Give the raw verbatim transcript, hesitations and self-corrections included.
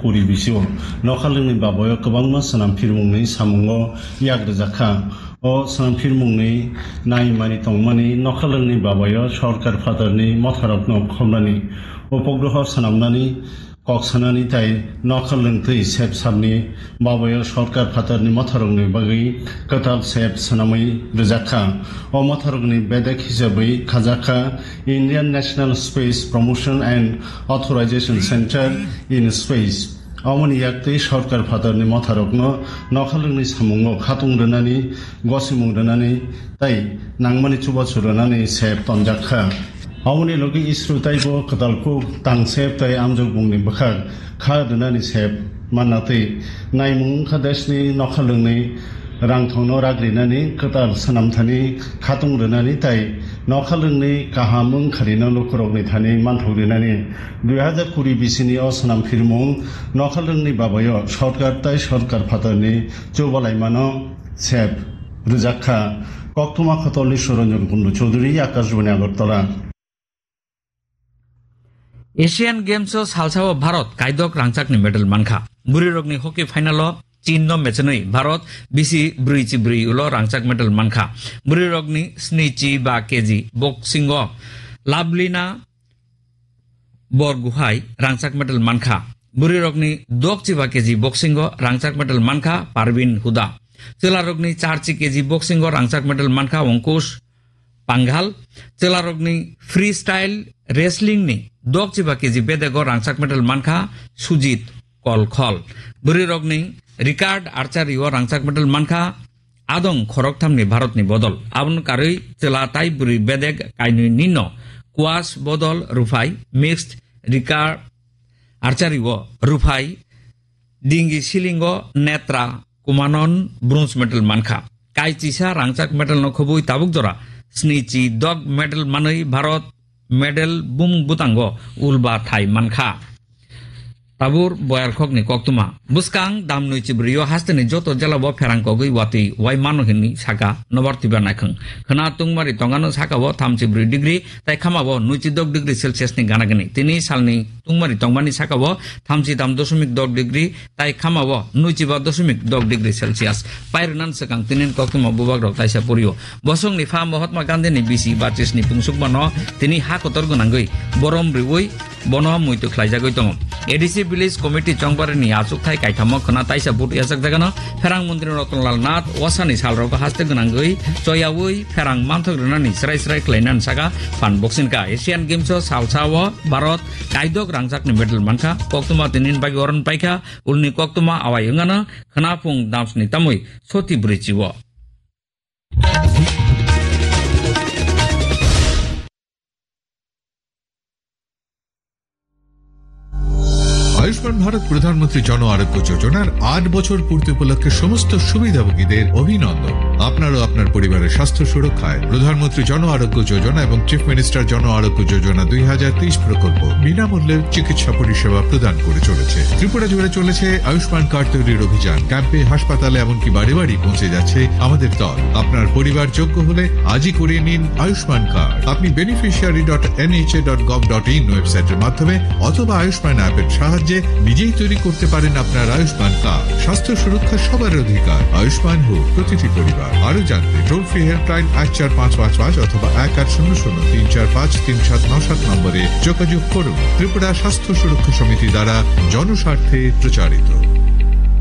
Puri bisio nokhalwngni babayo kwbangma swnam phirmungni samungo yak rwjak kha. O swnam phirmungni naimani tongmani nokhalwngni babayo sorkar phatarni motharokno khomnani, upogruho swnamnani, kok sanani tai nokhalwng twi sep sapni babayo sorkar phatarni motharokni bagwi kwtal sep swnamwi rwjak kha. O motharokni bedek hisabwi khajak kha Indian National Space Promotion and Authorization Center in Space. Omoni yak twi sorkar phatarni motharokno nokhalwngni samungo khatung rwnani, gosimung rwnani tai nangmani chubachu rwnani sep tonjak kha. Aboni logi isru taibo kwtal kuk tang sep tai amjokbungni bwkhak kha rwnani sep manna twi naimung wngkha deshni nokhalwngni rangthongno rak rinani, kwtal swnamthani khatung rwnani tai nokhalwngni kaham wngkharino lukurokni thani manthok rinani. Dui hazar kuri bisini o swnam phirmung nokhalwngni babayo sorkar tai sorkar phatarni chubalaimano sep rwjak kha. Koktwma Khotolni Suranjan Kundu Chaudhary, Akashbani Agartala. Asian Games o salsa o Bharat kaidok rangchakni medal mankha. Bwrwirokni hockey final o Chin no mechenwi Bharat bisi brwi chi brwi ulo rangchak medal mankha. Bwrwirokni sni chi ba K G boxing o Lavlina Borgohain rangchak medal mankha. Bwrwirokni dok chi ba K G boxing o rangchak medal mankha Parvin Huda. Chwlarokni char chi K G boxing o rangchak medal mankha Ankush Panghal. Chwlarokni freestyle wrestling ni dok chi ba K G bedego rangchak medal mankha Sujit Kolkhol. Bwrwirokni recurve archery o rangchak medal mankha Adong khorokthamni Bharatni bodol. Aboni karwi chwla tai bwrwi bedek kainwini no squash bodol rwphai, mixed recurve archery o rwphai, dingi silingo Netra Kumanon bronze medal mankha. Kaichisa rangchak medal no khobwi tabuk jora sni chi dok medal manwi Bharat medal bumung bwtango ulba thai mankha. Tabur Boyarkhokni koktwma. Bwskang dam nwi chi brwi o hasteni joto jela bo pherang kogwi watwi wai mano hinwi saka Nobar Twiba naikhwng. Khwna tungmari tongano saka o thamchi brwi degree, tai khama o nwi chi dok degree Celsius ni gana gini. Tini salni tungmari tongmani saka o thamchi dam dosmik dok degree, tai khama o nwi chi ba dosmik dok degree Celsius. Pairwnan swkang tinin koktwma bubak rok taisa purio. Bosongni pha Mahatma Gandhi ni bisi bachis ni pungsukmano tini ha kotor gwnangwi borom riwi bono muitu khlaijagwi tongo. A D C Village Committee chongbarini achukthai kaithamo khwna taisa vote yachakjagano pherang mantri Ratan Lal Nath wasani salrogo haste gwnangwi choyawi pherang manthok rwnani srai srai khlainani saka phan boksinka. Asian Games o salsa o Bharat kaidok rangchakni medal mankha, koktwma tinin bagwi oron paikha, ulni koktwma awai wngano khwna phung damsni tamwi soti brwi chi o. Ayushman ভারত প্রধানমন্ত্রী জন আরোগ্য যোজনার আট বছর পূর্তি উপলক্ষে সমস্ত সুবিধাভোগীদের অভিনন্দন। আপনার ও আপনার পরিবারের স্বাস্থ্য সুরক্ষায় প্রধানমন্ত্রী জন আরোগ্য যোজনা এবং চিফ মিনিস্টার জন আরোগ্য যোজনা দুই হাজার তেইশ প্রকল্প বিনামূল্যে চিকিৎসা পরিষেবা প্রদান করে চলেছে। ত্রিপুরা জুড়ে চলেছে আয়ুষ্মান কার্ড তৈরির অভিযান। ক্যাম্পে, হাসপাতালে, এমনকি বাড়ি বাড়ি পৌঁছে যাচ্ছে আমাদের দল। আপনার পরিবার যোগ্য হলে আজই করিয়ে নিন আয়ুষ্মান কার্ড। আপনি beneficiary dot NHA dot gov dot in ওয়েবসাইটের মাধ্যমে অথবা আয়ুষ্মান অ্যাপের সাহায্যে নিজেই তৈরি করতে পারেন আপনার আয়ুষ্মান কার্ড। স্বাস্থ্য সুরক্ষা সবার অধিকার। আয়ুষ্মান হোক প্রতিটি পরিবার। আরো জানতে টোল ফ্রি হেল্পলাইন এক চার পাঁচ পাঁচ পাঁচ অথবা এক আট শূন্য শূন্য তিন চার পাঁচ তিন সাত নয় সাত নম্বরে যোগাযোগ করুন। ত্রিপুরা স্বাস্থ্য সুরক্ষা সমিতি দ্বারা জনস্বার্থে প্রচারিত।